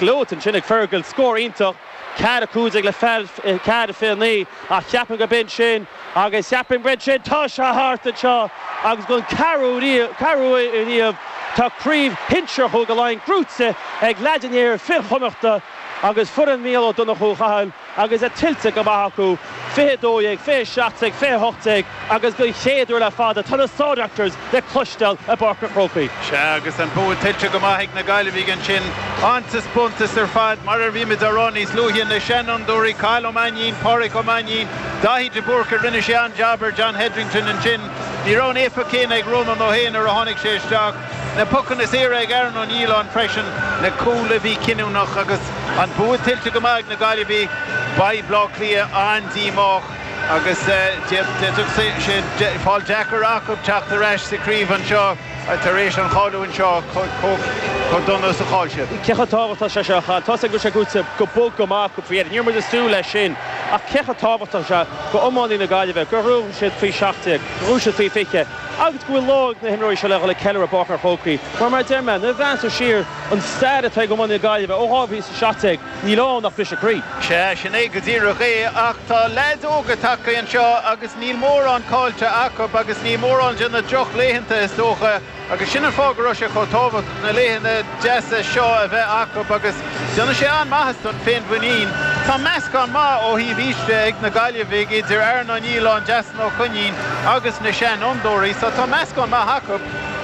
gleoite ansin ag Fergal, scór iontach, 4-15 le 4-29 ach cheapfainn go b'in sin agus cheapfainn go b'in sin, tá sé thart anseo agus don ceathrú uair riamh tá craobh shinsir Chúige Laighean gnóite ag leaids an iarthair fir Chonnachta agus foireann Mhícheál Ó Donnchú Chathail. agus é tuillte go maith acu, 20 12, 20 17, 20 18 agus don chéad uair le fada tá na Star Doctors le cloisteáil i bPáirc an Chrócaigh. Sea, agus an bua tuillte go maith ag na Gaillimhigh ansin. An-taispeántas ar fad, mar a bhí muid á rá níos luaithe, na seanfhondúirí, Cathal Ó Mainnín, Pádraic Ó Mainnín, Daithí de Búrca, rinne sé an-jab ar John Hetherington ansin. Ní raibh an éifeacht chéanna ag Rónán Ó hÉanaí nuair a tháinig sé isteach. Na pocanna saora ag Aaron Ó Nialláin freisin, na cúil a bhí cinniúnach agus an bua tuillte go maith ag na Gaillimhigh. Beidh Bleá Cliath an-díomách agus d'fhéadfadh sé fáil deacair acu teacht ar ais sa chraobh anseo tar éis an chailliúint seo chomh dona is a chaill siad. Cé chomh tábhachtach is atá sé seo a Chathail? Tá a fhios againn go bhfuil sé gnóite go bog go maith acu faoi dheireadh. Ní raibh muid ag súil leis sin ach cé chomh tábhachtach is atá sé do iománaí na Gaillimhe gur ghnóthaigh siad faoi 17, gur ghnóthaigh siad faoi 20. Agus go bhfuil lá ag na himreoirí seo le dhul ag ceiliúradh i bPáirc an Chrócaigh. Mar mar a deir mé, nuair a bhreathnaíonn tú siar an stair atá ag iománaí na Gaillimhe ó 2017, níl ann ach briseadh croí. Sea, sin é go díreach é. Ach tá leaids óga tagtha anseo agus níl mórán caillte acu agus níl mórán de na drochlaethanta is dócha. Agus sin an fáth go raibh sé chomh tábhachtach na laethanta deasa seo a bheith acu agus déanann sé an-mhaitheas don féinmhuinín. Tá meascán maith ó thaobh aois de ag na Gaillimhigh idir Aaron Ó Nialláin, Deasún Ó Coinín agus na seanfhondúirí so tá meascán maith acu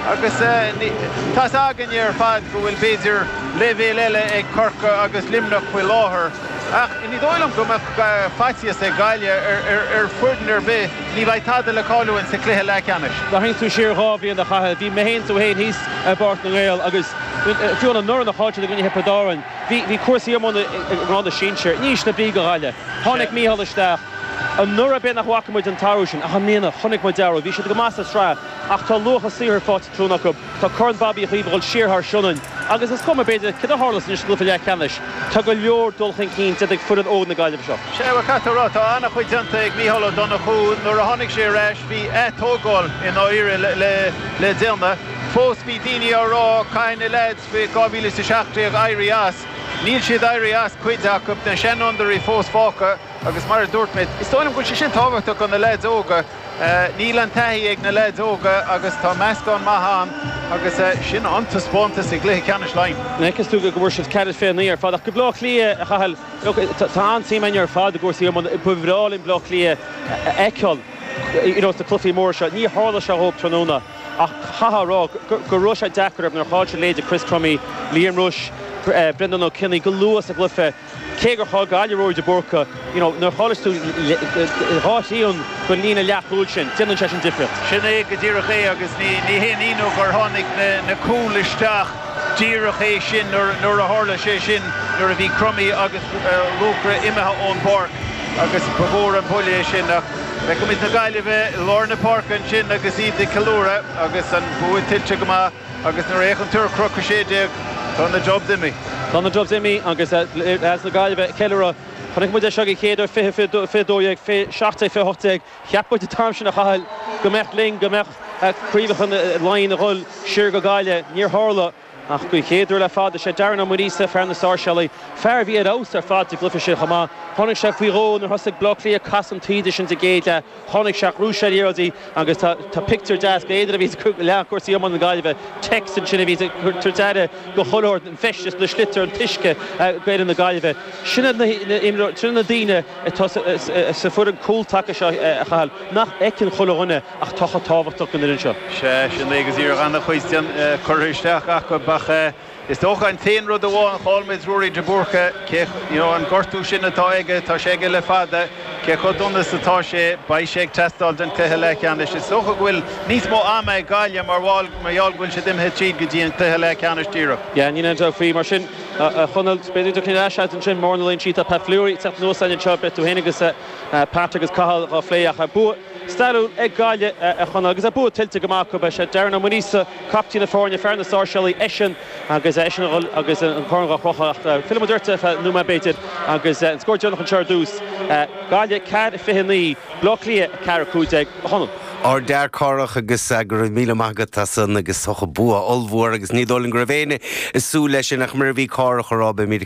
agus tá's againne ar fad go bhfuil b'fhéidir leibhéal eile ag Corcaigh agus Luimneach faoi láthair. Ach ní dóigh liom go mbeadh faitíos ag Gaillimh ar foireann ar bith, ní bheidh tada le cailliúint sa chluiche leathcheannais. Tharraing tú siar 2 bhliain a Chathail, bhí mé féin tú féin thíos i bPáirc na nGael agus fiú anuraidh nuair a chaill siad i gcoinne Thiobraid Árann, bhí bhí cúrsaí iomána i ngrád na sinsear in ísle brí do Ghaillimh. Tháinig Mícheál isteach. Anuraidh b'fhéidir nach bhfaca muid an t-athrú sin ach i mbliana chonaic muid athrú. Bhí siad go maith sa tsraith ach tá luach a saothair faighte tráthnóna acu. Tá Corn Bhobby Uí Chaoimh ag dul siar thar Sionainn agus is cuma, b'fhéidir, céard a tharlós anois sa gcluiche leathcheannais. Tá go leor dul chun cinn déanta ag foireann óg na Gaillimhe seo. Sea, bhuel, caithfidh tú a rá, tá an-chuid déanta ag Mícheál Ó Donnchú. Nuair a tháinig sé ar ais, bhí atógáil i ndáiríre le déanamh. Fós, bhí daoine á rá, caithfidh na leaids faoi 2017 éirí as. Níl siad éirithe as, cuid acu, na seanfhondúirí fós fágtha agus mar a dúirt mé, is dóigh liom go bhfuil sé sin tábhachtach do na leaids óga. Níl an taithí ag na leaids óga agus tá meascán maith ann agus sin an-taispeántas i gcluiche ceannais Laighean. An bhfeiceann tú go bhfuair siad 4-29 ar fad ach go Bleá Cliath, a Chathail, look, tá an-suim againn ar fad i gcúrsaí iomána. Ba bhreá linn Bleá Cliath a fheiceáil you know sna cluichí móra seo. Ní tharla sé dhóibh tráthnóna ach chaithfeá a rá go raibh sé deacair orthu nuair a chaill siad leithéidí Chris Crummey, Liam Rushe, Brendan Ó Cionnaith go luath sa gcluiche. Cé gur chaill Gaillimh Ruairí de Búrca, you know, nuair a chailleas tú dhá thrian den líne leathchúil sin, déanann sé sin difríocht. Sin é go díreach é agus ní haon ionadh gur tháinig na cúil isteach díreach é sin nuair a tharla sé sin, nuair a bhí Crummey agus Luachra imithe ón bpáirc agus ba mhór an buille é sin. Ach feicimid na Gaillimhe i lár na páirce ansin agus iad ag ceiliúradh agus an bua tuillte go maith. Agus nuair a fhéachann tú ar Chnoc 16, tá na Dubs imithe. Tá na Dubs imithe agus leaids na Gaillimhe ag ceiliúradh. Chonaic muid é seo den chéad uair 20, 22, 17, 2018. Cheap muid an t-am sin a Chathail go mbeadh linn, go mbeadh craobhacha Laighean ag dhul siar go Gaillimh. Níor tharla. Ach den chéad uair le fada, is é Darren Ó Muiríosa, fear na Sáirséalaigh, fear a bhí ar fheabhas ar fad sa gcluiche sin chomh maith. Tháinig sé faoi dhó nuair thosaigh Bleá Cliath ag casadh an taoide sin sa gcéad leath. Tháinig sé, ghnóthaigh sé liathróidí agus tá pictiúr deas go éadair a bhí ag lean cúrsaí iomána na Gaillimhe, text ansin a bhí ag tabhairt aire do chuile shórt, an feisteas, na sliotair, an t-uisce go fhoireann na Gaillimhe. Sin iad na sin na daoine atá sa foireann cúltaca seo a Chathail, nach bhfeiceann chuile dhuine ach tá chomh tábhachtach don fhoireann seo. Sea, sin é go díreach an-chuid curtha isteach acu ach Is dócha an t-aon rud amháin, chaill muid Ruairí de Búrca, cé, you know, an gortú sin atá aige, tá sé aige le fada, cé chomh dona is atá sé, beidh sé ag teastáil don chluiche leathcheannais. Is dócha go bhfuil níos mó ama ag Gaillimh mar bhall, mar gheall go bhfuil siad imithe tríd go dtí an cluiche leathcheannais díreach. Yeah, níl aon dabht faoi. Mar sin, a Chonaill, b'fhéidir go dtiocfaidh ar ais agat ansin, Mór na Loinsí, tá Pat Fleury ag teacht anuas againn anseo, beidh tú féin agus Pat agus Cathal dhá phlé ach bua stairiúil ag Gaillimh, a Chonaill, agus bua tuillte go maith acu. Beidh sé Darren Ó Muiríosa, Captaen na foirne, fear na Sáirséalaí, eisean agus eisean a dhul agus an corn dhá chrochadh ach fillfidh muid ort ar feadh nóiméad b'fhéidir agus an scór deireanach anseo ar dtús, Gaillimh 4-29, Bleá Cliath 4-15, a Chonaill. Ardfhear Cárthach agus go raibh míle maith agat as san agus bua ollmhór agus ní dóigh liom go raibh éinne ag súil leis sin ach mar a bhí Cárthach a rá beimid.